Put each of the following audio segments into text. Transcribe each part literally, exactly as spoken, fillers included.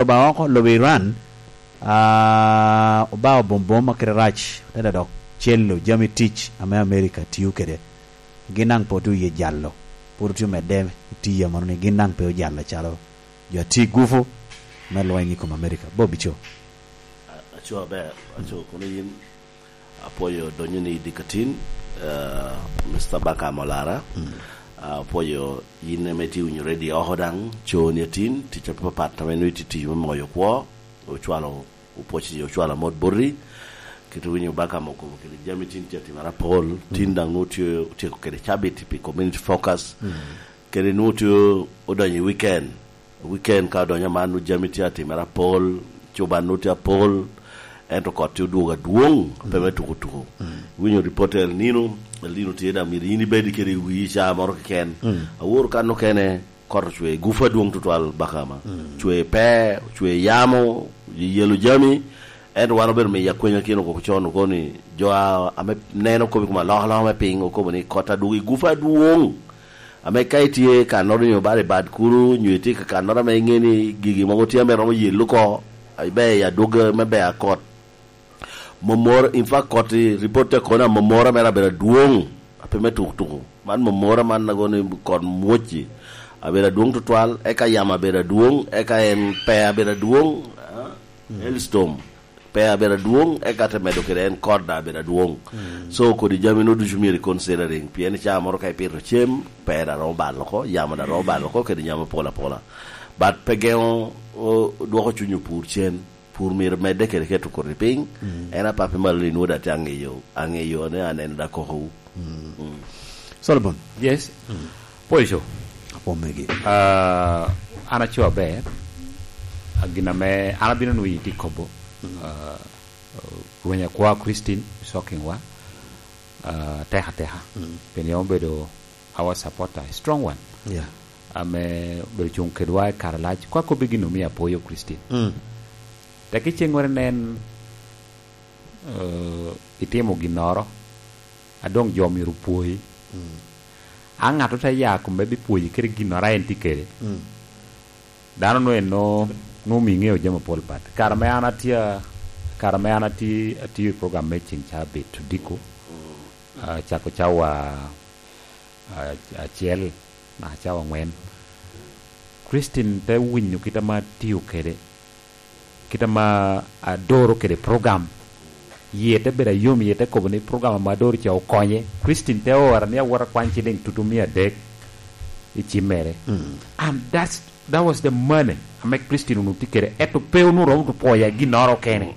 oba oko lobo Iran, ah, oba bombom ma kite rac, te dok celo jami tic ame Amerika tio kede. Gin daŋ pe otye oye jalo, pwod otye omedde i tiyo amono ni gin daŋ pe ojalo acalo jo a tye i gupu me lweny i kom Amerika. Bobi Co. A-, aco aber, aco kono yin. Apwoyo donyo ni i dikatin, eh, Mister Baka Molara. Mm. Apwoyo yin ame itye winyo redio oko daŋ, coni atin, tic apapat ame nwoŋo itye tiyo me moyo kwo, ocwalo, opwoc i ocwalo amot boti, kit winyo Baka mo kobo kede jami tin tye atimere apol, tin daŋ nwoŋo tye otyeko kede cabit pi community focus, kede nwoŋo tye odonyo i weekend. Weekend ka odonyo aman, jami tye atimere apol, cuban nwoŋo tye apol, ento kot tye odwogo adwoŋ, pe me tuko tuko. Winyo ripot a El Nino, El Nino tye daŋ myero yin ibed kede i wii caa moro keken. Awor kan okene, kot ocwe gupu adwoŋ tutwal Bakama. Cwe pe, cwe yamo, yelo jami, ento wan obedo miyo akwenya kino koko con okobo ni jo a-, ame neno kop i kom alokaloka me piny okobo ni kot adwogo i gupu adwoŋ. Ame ka itye i kannoro nyo bala i bad kulu, nyo itye ka kannoro ame iŋe ni gigi mogo tye ame romo yello oko, ibe i adwogi me bea kot. Momora, in fact, kot i ripot te kono, momora mere abedo adwoŋ, ape me tuk tuku. Man momora man ago ni kot mwocci abedo adwoŋ tutwal, eka yamo abedo adwoŋ, eka en pe abedo adwoŋ, ah, hailstorm. Pe abedo adwoŋ, eka te medo kede en kot daŋ abedo adwoŋ. So, kodi jami no ducu myero i considering, pien i caa moro ka ipito cem, pe daŋ romo balo oko, yamo daŋ romo balo oko, kede yamo pol apola. But pe geŋo, o, dwoko cuny opur cen. Pur myero medde kede keto koti piny. En apapi malo ni nwoŋo daŋ tye aŋeyo, aŋeyo ni aneno daŋ kokowu. Mm. Solomon. Yes. Pwoco. Apwomegi. Ah, an aco aber. Ah, gin ame an abino nwoŋo itye kobo. Ah, rweny akwa Christine Sokingwa, ah, tek ateka. Pien yam obedo our supporter, a strong one. Yeah. Ame obedo cuŋ kedwa i kare lac. Kwa kobbi gin omio apwoyo Christine. Tek iceŋ were nen, eh, itimo ginnoro, a doŋ jo myero opwoyi. A ŋat ote ya kome bipwoyi kede ginnoro a en tye kede. Dano no en no, no omi ŋeo jami apol pat. Kare me an atye, kare me an atye, atye i program me ceng ca bit odiko, ah, cako cawa, ah, acel, naka cawa angwen. Christine te winyo kit ama atio kede, kit ama adoro kede program. Yie te bedo ayom, yie te kobo ni program ama adoro ca okonye. Christine te ora ni awot akwany ciliŋ tutu mia adek i cim mere. And that's, that was the money ame Christine onwoŋo tye kede. Eto pe onwoŋo romo to pwoya ginnoro kene.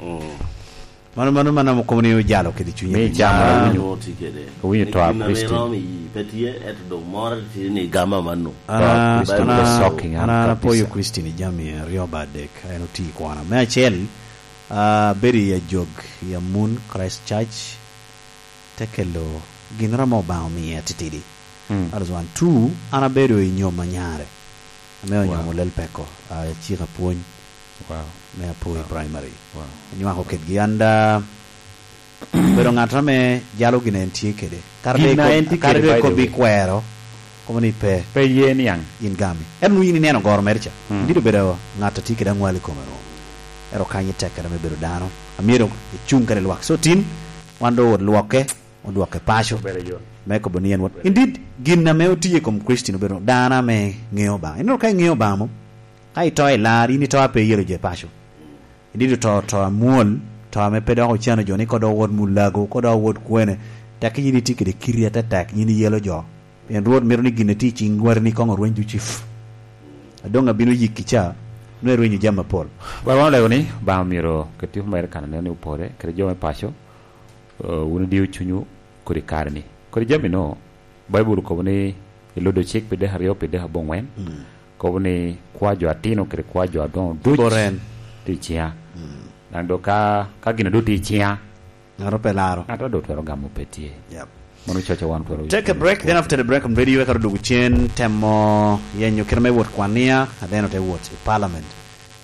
Mano, mano, mano amo kobo ni ojalo kede cunye. Mi camo. Ah, owinyo, owinyo to a Christine. Pe tye, eto dok moro tye ni gama mano. An, Christine, an, the shocking, an, an apwoyo kabisa. Christine i jami aryo ba adek, en oti i kwana. Me acel, ah, bedo i ajog, i Amun Christ Church, te kelo ginnoro ame Obaŋa omiye atitidi. That is one. Two, an abedo i nyom anyare. Ame onyomo lel peko, ah, cik apwony. Wow. Me Apwoyo Primary. Wow. Nywako kedgi. And, ah, bedo ŋat ame jalo gin en tye kede. Kare doŋ en tye kede, kare doŋ by the way. Kobbi kwero, kobo ni pe. Pe ye niaŋ. In gami. En onwoŋo in ineno goro mere ca. Ibino bedo ŋat a tye kede aŋwal i kome no. Ero kany i tek kede me bedo dano. Amyero icuŋ kede lwak. So tin, wan doŋ owot lwokke, odwokke paco. Obedo yot. Me kobo ni en wot. Indeed, gin ame otiye i kom Christine obedo dano ame ŋeo Obaŋa. Ineno ka iŋeo Obaŋa mo, ka ito i lar, in ito a pe iyelo jo i paco. Indeed oto, to amwol, to ame pe dok ocano jo ni ko dok owot mulago, ko dok owot kwene. Tek yin itye kede kiri atetek, yin iyelo jo. Pien Rwot mito ni gin a tye i ciŋ wati ni koŋ orweny ducu. A doŋ abino yikki ca, nwoŋo irwenyo jami apol. Baba, wan olego ni Obaŋa myero ket tipo mere kan aneno ni opore, kede jo me paco, eh, wun idio cunywu kodi kare ni. Kodi jami no, Baibul okobo ni i Ludo cik pi dek aryo, pi dek aboŋwen, kobo ni kwa jo atino kede kwa jo adoŋo duc tye i ciŋa. Daŋ do ka, ka gin a doŋ tye i ciŋa, ŋato pe laro. Ŋato doŋ twero gamo pe tye. Yep. Mano coco wan twero. Take a break, then after the break on radio, eka odugo cen temo yenyo kite me wot kwania, and then ote wot i parliament,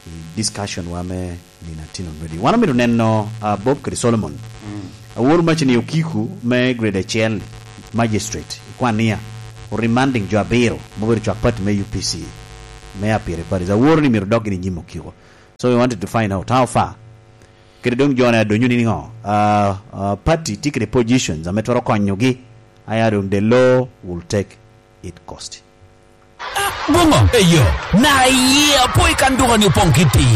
i discussion wa me nino atino on radio. Wan omito neno, ah, Bob kede Solomon. Awor mac ni okiko me grade acel magistrate i kwania, o remanding jo abiro, ma obedo cwak party me U P C, me apire parties. Awor ni myero dok gini nyim okiko. So we wanted to find out how far. Kede doŋ jone adonyo ni niŋo? Uh, uh, party tye kede positions ame twero konyogi. Aya doŋ the law will take it cost. Boŋo? Eyo, na iye apo i kan duka ni opoŋ kiti.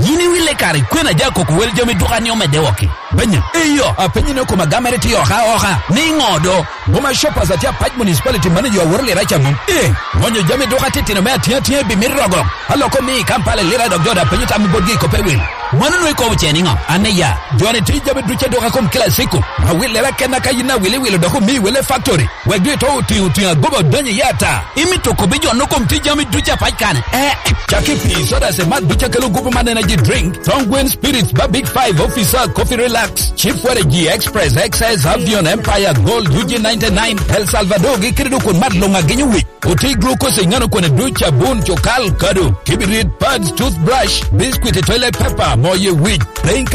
Yin iwile kare kwena ja koko wel jami duka ni omedde woki. Benya, eyo, apenyi ni okoma gamere ti oka oka. Ni ŋo do? Boma Shoppers atye apac municipality manager aworo lira caŋo? Eh, ŋonyo jami duka titino me atiŋ atiŋ i bimit rogo. Aloko mi i Kampala lira dok joda penyo tam botgi i kope wil. Mano nwe ikobo ce niŋo? Ane ya, joni ti jami duca duka kom kila siko. Awilera kenna ka yin awili wilo dok omi wele factory. Wek dwe to otiŋo tiŋo agoba odonyo i ata. Imito kobi jo no kom ti jami duca pac kane. Eh, caki pi soda se mat duca kelo gupu man energy drink. Thong Gwen Spirits ba Big Five Officer Coffee Relax. Chief Waragi Express X S Avion Empire Gold U G ninety-nine El Salvador gi kede dok kun mat luŋ agenyo wic. Oti glucose i ŋano kwane duc abun cukal kado. Kibirit pads toothbrush biscuit toilet paper moye wic. Plain